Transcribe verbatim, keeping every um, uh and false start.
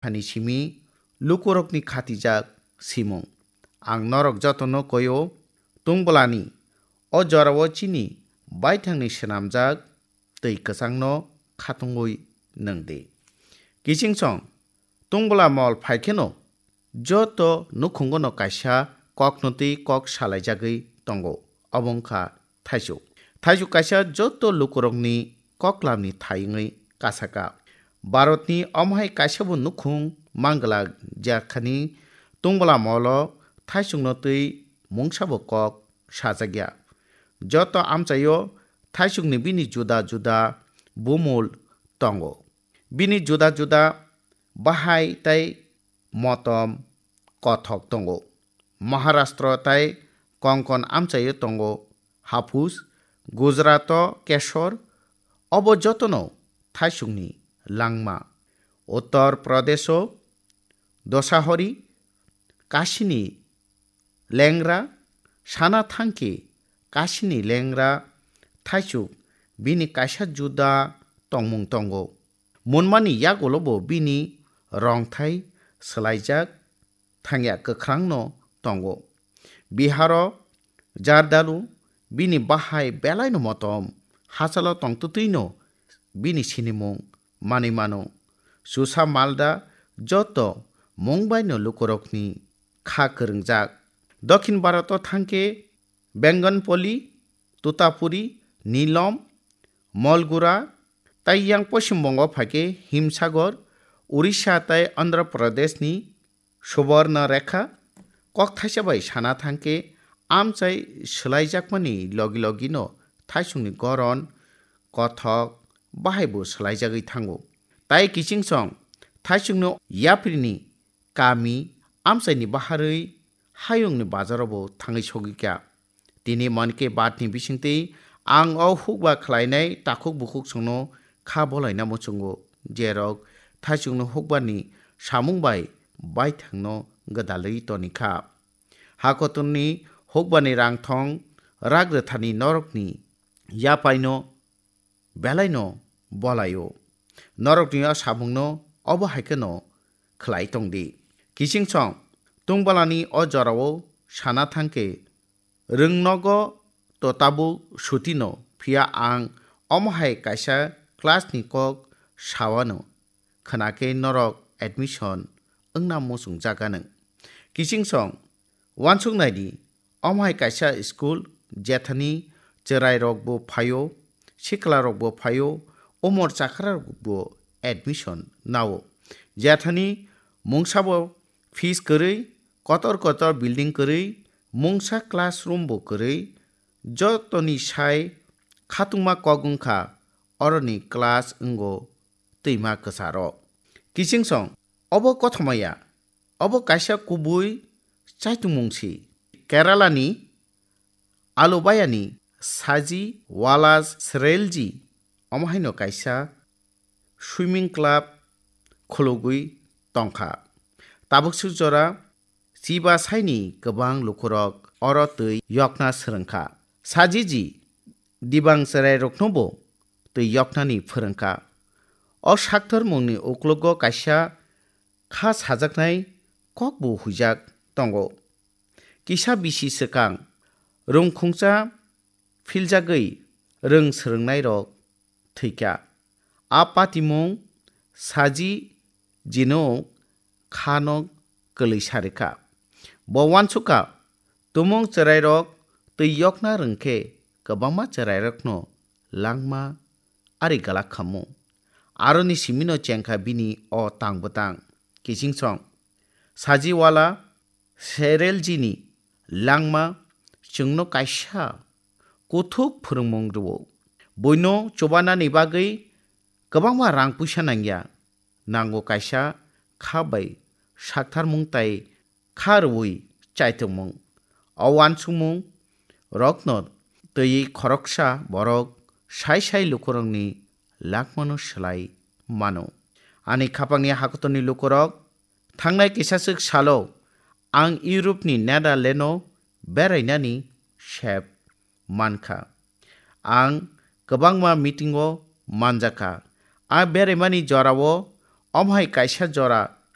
Ani simi lukurokni khatijak simung. Ang norok jotono koio, tungbolani o jorao chini baithangni swnamjak twi kwchangno khatungwi nwng di. Kichingsong tungbola mol phaikheno joto nukhungono kaisa kokno twi kok salaijagwi tongo, obo wngkha thaisuk. Thaisuk kaisa joto lukurokni koklamni thai wngwi kasaka. Bharatni omohai kaisabo nukhung manglak, jekhani tungbola molo thaisukno twi mungsabo kok sajakya. Joto amchaio thaisukni bini juda juda bumul tongo. Bini juda juda bahai tei motom kothok tongo. Maharashtra tei Konkon amchaio tongo haphus, Gujarato kesor, obo jotono thaisukni langma. Uttar Pradesho dosahori kasini lengra, sana thangkhe kasini lengra thaisuk bini kaisa juda tongmung tongo. Munmani yagulobo bini rongthai swlaijak thangya kwkhrangno tongo. Biharo Jardalu bini bahai belaino motom, hachalo tongtwtwino bini sinimung manwi mano. Susa Malda joto mungbaino lukurokni kha kwrwngjak. Dokhin Bharoto thangkhe Bengonpoli, Tutapuri, Nilom, Molgura, tei yang Poshim Bongo phaikhe Himsagor, Orissa tei Andhra Pradeshni Subarna Rekha. Kokthaisa bai sana thangkhe amchai swlaijakmani logi logino thaisukni goron, kothok, bahaibo swlaijagwi thango. Tai kichingsong thaisukno yaprini kami amchaini baharwi hayungni bazaro bo thangwi sogwi kha. Tini Mann Ki Baat ni bisingtwi ang o hukba khlainai takhuk bukhuk songno kha bolaina muchungo, jerok thaisukno hukbani samung bai baithangno gwdalwi toni kha. Hakotorni hukbani rangthong rak rwthani norokni yapaino belaino bolaio. Norokni o samungno obo hai kheno khlai tong di. Kichingsong tungbalani o jorao sana thangkhe rwngnogo to tabuk sutino, phiya ang omo hai kaisa class ni kok sawano, khwnakhe norok admission wngna muchungjak anw. Kichingsong uansuk nai di, omo hai kaisa school, jethani chwrairokbo phaio, siklarokbo phaio, umor chakrarokbo admission nao. Jethani mungsabo fees kwrwi, kotor kotor building kwrwi, mungsa classroom bo kwrwi, jotoni sai khatungma kok wngkha oroni class wngo twima kwcharo. Kichingsong, obo kothoma ya, obo kaisa kubui chaitungmung si. Kerala ni Alubayani Saji Wala Srelji omo haino kaisa swimming club khulugwi tongkha. Tabuk suk jora chiba saini kwbang lukurok oro twi yokna swrwngkha. Sajiji dibang chwrairoknobo twi yoknani phwrwngkha. O sakthormungni uklogo kaisa kha sajaknai kokbo huijak tongo. Kisa bisi swkang rwngkhungsa philjagwi rwng swrwngnairok thwikha. A patimung Saji jino khano kwlwi sarikha. Bo uansukha, tumung chwrairok twi yokna rwngkhe kwbangma chwrairokno langma ari galak khamu. Aroni simino chengkha bini o tang bwtang. Kichingsong Sajiwala Sereljini langma chwngno kaisa kuthuk phwrwngmung rwo. Buino chubanani bagwi kwbangma rang puisa nangya. Nango kaisa kha bai saktharmung tai kha rwui chaitokmung. O uansukmung rokno twiwi khoroksa borok sai sai lukurokni langmano swlai mano. Ani khapangni hakotorni lukurok, thangnai kisaswk salo ang Europe ni Netherland o berainani sep mankha. Ang kwbangma meeting o manjakha. A beraimani jorao omo hai kaisa jora